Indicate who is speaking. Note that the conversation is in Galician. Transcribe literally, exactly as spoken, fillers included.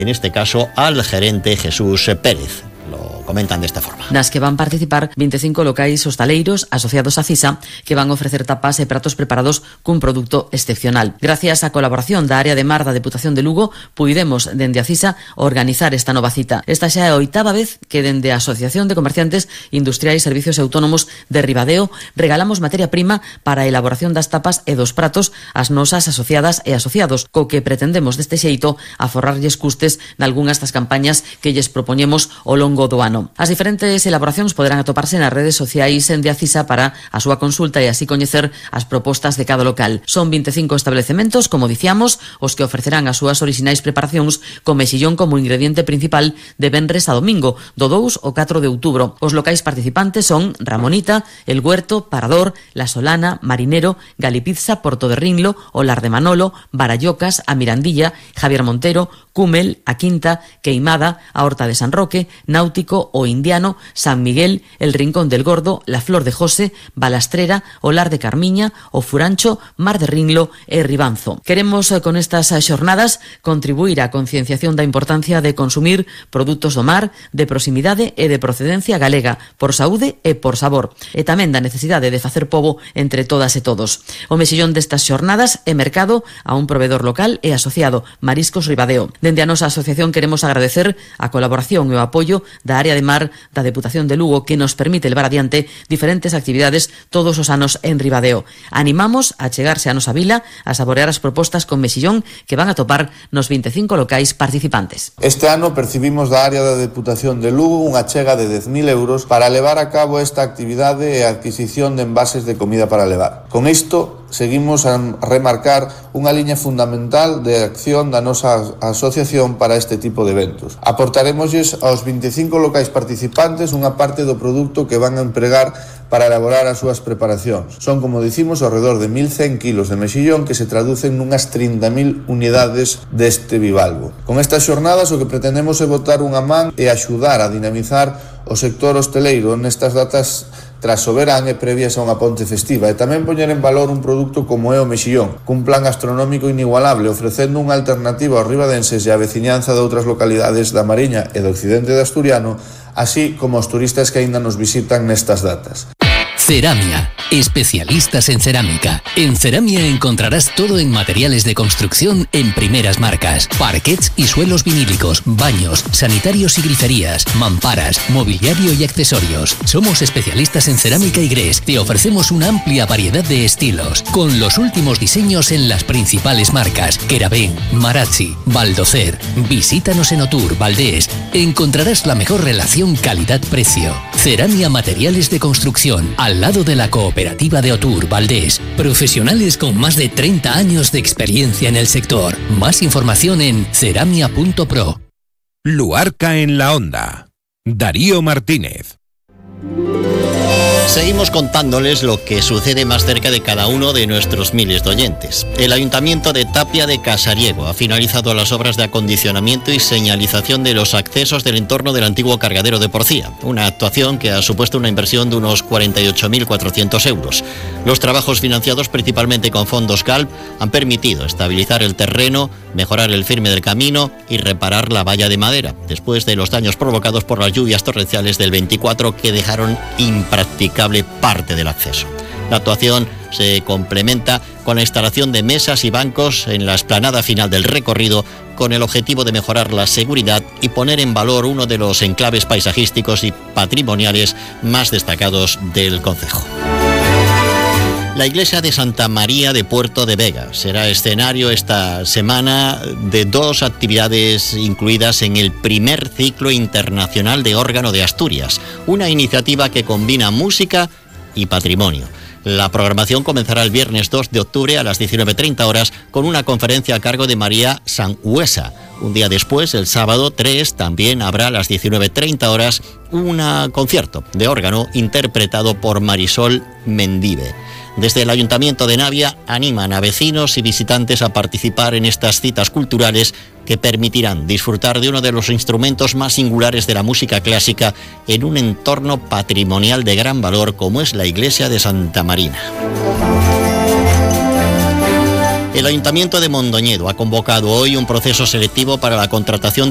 Speaker 1: en este caso al gerente Jesús Pérez. Lo comentan de esta forma.
Speaker 2: Nas que van participar vinte e cinco locais hostaleiros asociados a CISA que van ofrecer tapas e pratos preparados cun produto excepcional. Gracias á colaboración da área de mar da Deputación de Lugo, puidemos dende a CISA organizar esta nova cita. Esta xa é a oitava vez que dende a Asociación de Comerciantes Industriais, Servicios e Autónomos de Ribadeo regalamos materia prima para a elaboración das tapas e dos pratos ás nosas asociadas e asociados, co que pretendemos deste xeito aforrarlles custes nalgunhas das campañas que lles propoñemos ao longo do ano. As diferentes elaboracións poderán atoparse nas redes sociais de a CISA para a súa consulta e así coñecer as propostas de cada local. Son vinte e cinco establecementos, como diciamos, os que ofrecerán as súas orixinais preparacións con mexillón como ingrediente principal de venres a domingo, do dous ao catro de outubro. Os locais participantes son Ramonita, El Huerto, Parador, La Solana, Marinero, Galipizza, Porto de Rinlo, Olar de Manolo, Barallocas, A Mirandilla, Javier Montero, Cúmel, A Quinta, Queimada, A Horta de San Roque, Náutico, O Indiano, San Miguel, El Rincón del Gordo, La Flor de José, Balastrera, Olar de Carmiña, O Furancho, Mar de Rinlo e Ribanzo. Queremos con estas xornadas contribuir á concienciación da importancia de consumir produtos do mar, de proximidade e de procedencia galega, por saúde e por sabor, e tamén da necesidade de facer pobo entre todas e todos. O mexillón destas xornadas é mercado a un proveedor local e asociado, Mariscos Ribadeo. Dende a nosa asociación queremos agradecer a colaboración e o apoio da área de mar da Deputación de Lugo que nos permite levar adiante diferentes actividades todos os anos en Ribadeo. Animamos a chegarse a nosa vila a saborear as propostas con mexillón que van a topar nos vinte e cinco locais participantes.
Speaker 3: Este ano percibimos da área da Deputación de Lugo unha chega de dez mil euros para levar a cabo esta actividade e a adquisición de envases de comida para levar. Con isto seguimos a remarcar unha liña fundamental de acción da nosa asociación para este tipo de eventos. Aportaremosles aos vinte e cinco locais participantes unha parte do produto que van a empregar para elaborar as súas preparacións. Son, como dicimos, ao redor de mil cen kilos de mexillón que se traducen nunhas trinta mil unidades deste bivalvo. Con estas xornadas o que pretendemos é botar unha man e axudar a dinamizar o sector hosteleiro nestas datas tras o verán e previas a unha ponte festiva, e tamén poñer en valor un produto como é o mexillón, cun plan gastronómico inigualable, ofrecendo unha alternativa aos ribadenses e a veciñanza de outras localidades da Mariña e do occidente de Asturiano, así como aos turistas que aínda nos visitan nestas datas.
Speaker 4: Ceramia, especialistas en cerámica. En Ceramia encontrarás todo en materiales de construcción en primeras marcas, parquets y suelos vinílicos, baños, sanitarios y griferías, mamparas, mobiliario y accesorios. Somos especialistas en cerámica y grés. Te ofrecemos una amplia variedad de estilos, con los últimos diseños en las principales marcas: Querabén, Marazzi, Baldocer. Visítanos en Otur, Valdés. Encontrarás la mejor relación calidad-precio. Ceramia Materiales de Construcción, al lado de la cooperativa de Otur, Valdés. Profesionales con más de treinta años de experiencia en el sector. Más información en ceramia punto pro.
Speaker 5: Luarca en la Onda. Darío Martínez.
Speaker 1: Seguimos contándoles lo que sucede más cerca de cada uno de nuestros miles de oyentes. El Ayuntamiento de Tapia de Casariego ha finalizado las obras de acondicionamiento y señalización de los accesos del entorno del antiguo cargadero de Porcía, una actuación que ha supuesto una inversión de unos cuarenta y ocho mil cuatrocientos euros. Los trabajos, financiados principalmente con fondos C A L P, han permitido estabilizar el terreno, mejorar el firme del camino y reparar la valla de madera, después de los daños provocados por las lluvias torrenciales del veinticuatro que dejaron impracticable parte del acceso. La actuación se complementa con la instalación de mesas y bancos en la explanada final del recorrido, con el objetivo de mejorar la seguridad y poner en valor uno de los enclaves paisajísticos y patrimoniales más destacados del concejo. La iglesia de Santa María de Puerto de Vega será escenario esta semana de dos actividades incluidas en el primer ciclo internacional de órgano de Asturias, una iniciativa que combina música y patrimonio. La programación comenzará el viernes dos de octubre a las diecinueve treinta horas con una conferencia a cargo de María Sanhuesa. Un día después, el sábado tres, también habrá a las diecinueve treinta horas un concierto de órgano interpretado por Marisol Mendive. Desde el Ayuntamiento de Navia animan a vecinos y visitantes a participar en estas citas culturales que permitirán disfrutar de uno de los instrumentos más singulares de la música clásica en un entorno patrimonial de gran valor como es la iglesia de Santa Marina. El Ayuntamiento de Mondoñedo ha convocado hoy un proceso selectivo para la contratación